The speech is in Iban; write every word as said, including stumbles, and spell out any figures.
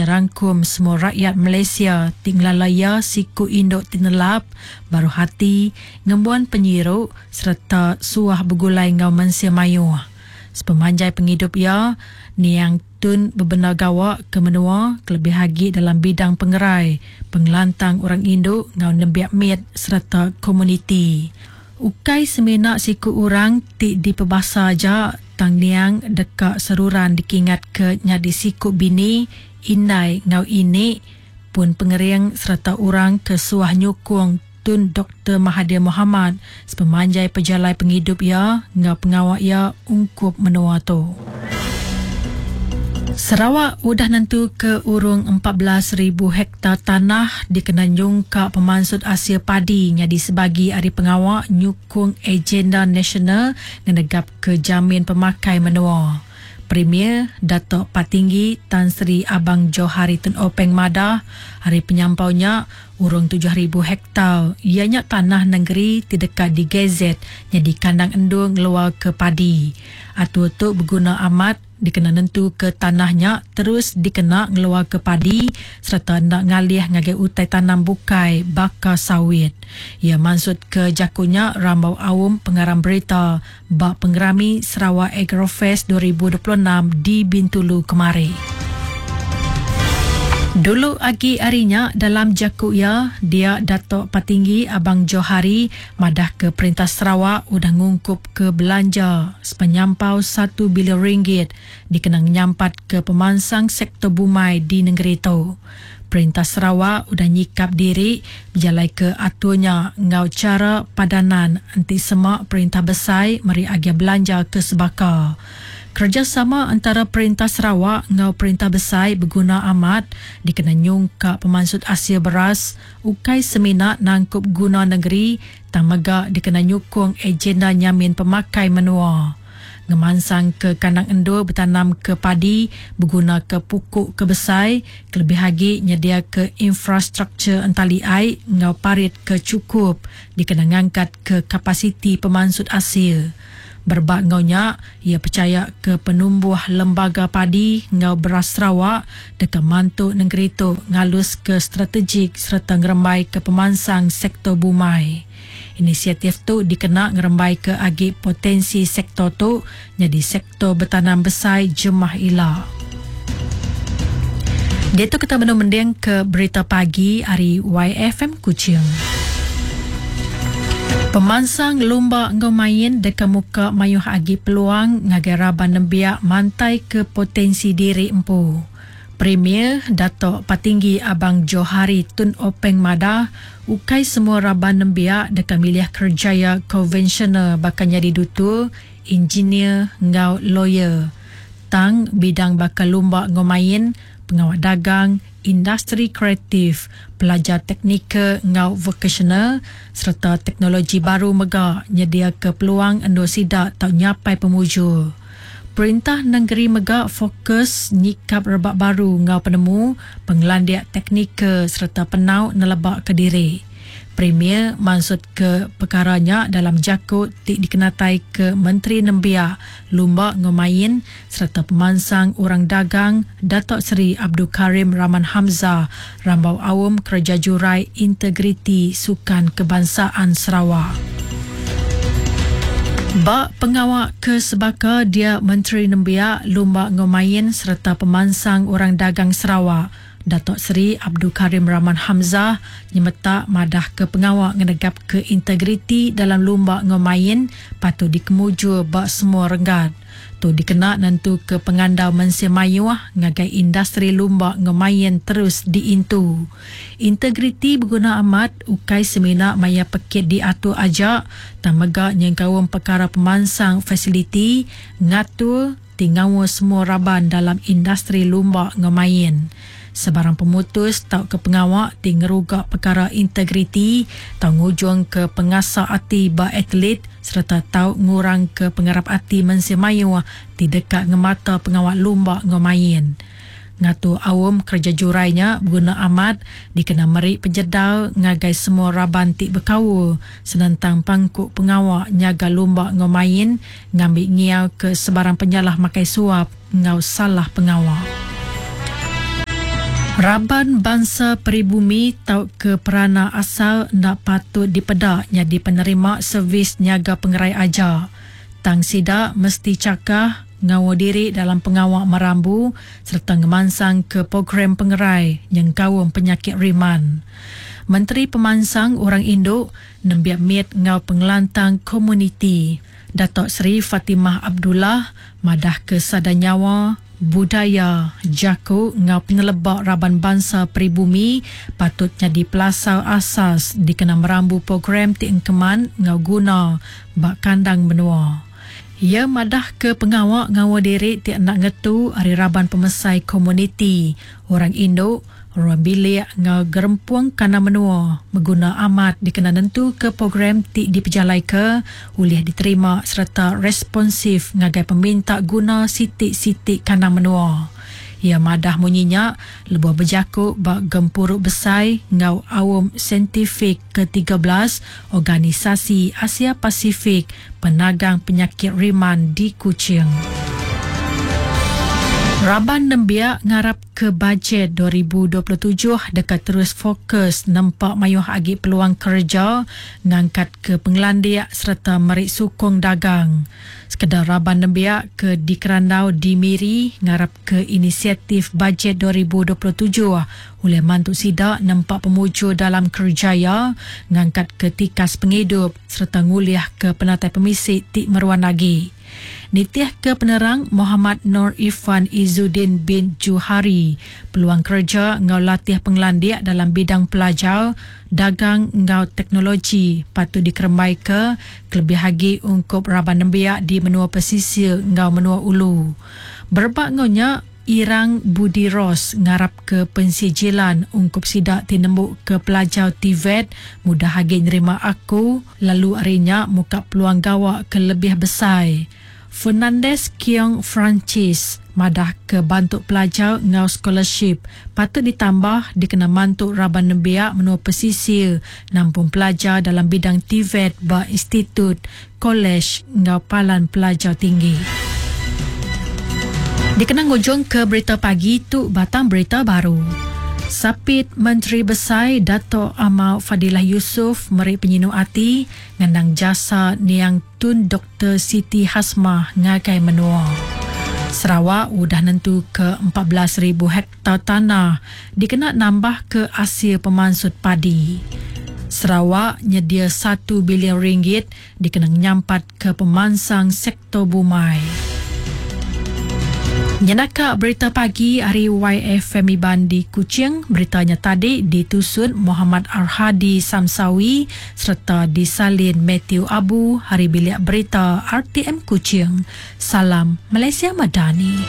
nyerangkum semua rakyat Malaysia ti ngelala iya siku indu ti nelap, baruh ati, ngembuan penyiru sereta suah begulai enggau mensia mayuh. Sepemanjai pengidup iya, niang Tun bebendar gawa ke menua kelebih agi dalam bidang pengerai, pengelantang orang indu enggau nembiak mit sereta komuniti. Ukai semina siku orang ti dipebasa aja, tang niang deka seruran dikingatka nyadi siku bini, indai enggau ini, pun pengering sereta orang ke suah nyukung Tun Doktor Mahathir Mohamad sepemanjai pejalai pengidup iya enggau pengawa iya ungkup menua tu. Sarawak udah nentuka urung empat belas ribu hektar tanah dikena nyungkak pemansut asil padi nyadi sebagi ari pengawa nyukung agenda nasional ngenegapka jamin pemakai menua. Premier Datuk Patinggi Tan Sri Abang Johari Tun Openg madah, ari penyampau nya, urung tujuh ribu hektar iya nya tanah nengeri ti deka digazet nyadi kandang endur ngeluarka padi. Atur tu beguna amat dikena nentuka tanah nya terus dikena ngeluarka padi sereta enda ngalih ngagai utai tanam bukai baka sawit. Iya mansutka jaku nya rambau aum pengarang berita ba Pengerami Sarawak Agrofest dua ribu dua puluh enam di Bintulu kemari. Dulu agi ari nya dalam jaku iya, dia Datuk Patinggi Abang Johari madahka Perintah Sarawak udah ngungkupka belanja sepenyampau satu bilion ringgit dikena ngenyampatka pemansang sektor bumai di nengeri tu. Perintah Sarawak udah nyikap diri bejalaika atur nya enggau chara padanan enti sema perintah besai meri agih belanja ke sebaka. Kerejasama antara Perintah Sarawak enggau Perintah Besai beguna amat dikena nyungkak pemansut asil beras ukai semina nangkup guna negeri tang mega dikena nyukung agenda nyamin pemakai menua. Ngemansang ke kandang endur betanam ke padi beguna ke pukuk ke besai kelebih agi nyediaka infrastruktur entali ai enggau parit ke chukup dikena ngangkat ke kapasiti pemansut asil. Berebak enggau nya, ia percaya ke penumbuh lembaga padi enggau beras Sarawak deka mantu negeri tu ngalus ke strategik sereta ngerembai ke pemansang sektor bumai. Inisiatif tu dikena ngerembai ke agi potensi sektor tu nyadi sektor betanam besai jemah ila. Diatu kita benung mending ke berita pagi ari Y F M Kuching. Pemansang lumba enggau main deka muka mayuh agi peluang ngagai raban nembiak mantai ke potensi diri empu. Premier Datuk Patinggi Abang Johari Tun Openg madah, ukai semua raban nembiak deka milih kerjaya konvensional baka nyadi dutur, engineer enggau lawyer. Tang bidang baka lumba enggau main, pengawa dagang, industri kreatif, pelajar teknikal enggau vokasional sereta teknologi baru mega nyediaka peluang endur sida tau nyapai pemujur. Perintah negeri mega fokus nyikap rebak baru enggau penemu, pengelandik teknikal sereta penau nelebak ke diri. Premier maksud ke perkara nya dalam jaku ti dikenatai ke Menteri Nembiak, Lumba enggau Main sereta Pemansang Orang Dagang Datuk Seri Abdul Karim Rahman Hamzah rambau aum Kerja Jurai Integriti Sukan Kebangsaan Sarawak. Ba pengawak ke sebaka dia Menteri Nembiak, Lumba enggau Main sereta Pemansang Orang Dagang Sarawak Datuk Seri Abdul Karim Rahman Hamzah nyemetak madah ke pengawak ngenegap ke integriti dalam lumba enggau main patut dikemujur ba semua renggat. Tu dikena nentu ke pengandau mensia mayuh ngagai industri lumba enggau main terus diintu. Integriti beguna amat ukai semina maya pekit diatur aja tang mega nyengkaum perkara pemansang fasiliti ngatur ti ngaul semua raban dalam industri lumba enggau main. Sebarang pemutus tau ke pengawak ti ngeruga perkara integriti tau ngujung ke pengasa ati ba atlet sereta tau ngurang ke pengarap ati mensia mayuh ti deka ngemata pengawak lumba enggau main. Ngatur aum kerja jurai nya beguna amat dikena meri penjedar ngagai semua raban ti bekaul senentang pangku pengawak nyaga lumba enggau main ngambi ngiau ke sebarang penyalah makai suap enggau salah pengawak. Raban bangsa peribumi tau ke perana asal ndak patut dipedak jadi penerima servis nyaga pengerai aja. Tang sida mesti cakah ngawa diri dalam pengawak merambu serta ngemansang ke program pengerai nyengkaum penyakit riman. Menteri Pemansang Orang Induk nembiak mit ngau pengelantang komuniti Datuk Seri Fatimah Abdullah madah ke sada nyawa budaya jaku ngau penelebak raban bangsa peribumi patut jadi pelasar asas dikena merambu program ti engkeman ngau guna bak kandang menua. Ia madah ke pengawak ngawa diri ti nak ngetu ari raban pemesai komuniti orang Induk ruang bilik ngau gerempung kana menua mengguna amat dikena nentu ke program ti dipejalai ke ulih diterima serta responsif ngagai peminta guna sitik-sitik kana menua. Ia madah munyinya lebuh berjakuk bak gempuruk besai ngau awam saintifik ke tiga belas Organisasi Asia Pasifik Penagang Penyakit Riman di Kuching. Raban nembiak ngarap ke bajet dua ribu dua puluh tujuh dekat terus fokus nempak mayuh agi peluang kerja ngangkat ke pengelandiak serta merik sukong dagang. Sekedar raban nembiak ke dikerandau di Miri ngarap ke inisiatif bajet dua ribu dua puluh tujuh oleh mantu sidak nempak pemuju dalam kerjaya ngangkat ke tikas penghidup serta nguliah ke penatai pemisik tik meruan lagi. Nitih ke penerang Muhammad Nur Irfan Izzuddin bin Juhari, peluang kerja ngau latih pengelandiak dalam bidang pelajar, dagang ngau teknologi patut dikerembai ke kelebih agi ungkup raban nembiak di menua pesisir ngau menua ulu. Berebak ngau nya, Irang Budi Ros ngarap ke pensijilan ungkup sidak tinembuk ke pelajar T V E T mudah agi nerima aku lalu arinya muka peluang gawak ke lebih besar. Fernandez Kiong Francis madah ke bantu pelajar ngau scholarship patut ditambah dikena mantu raban nembiak menua pesisir nampung pelajar dalam bidang T V E T ba institut, kolej ngau palan pelajar tinggi. Dikenang ujung ke berita pagi tu batang berita baru. Sapit Menteri Besai Dato' Amar Fadillah Yusof meri penyinu ati ngenang jasa niang Tun Doktor Siti Hasmah ngagai menua. Sarawak udah nentu ke empat belas ribu hektar tanah dikena nambah ke hasil pemansut padi. Sarawak nyedia satu bilion ringgit dikena nyampat ke pemansang sektor bumai. Nyenaka berita pagi hari Y F M Iban di Kuching. Beritanya tadi ditusun Muhammad Arhadi Samsawi serta disalin Matthew Abu. Hari bilik berita R T M Kuching. Salam Malaysia Madani.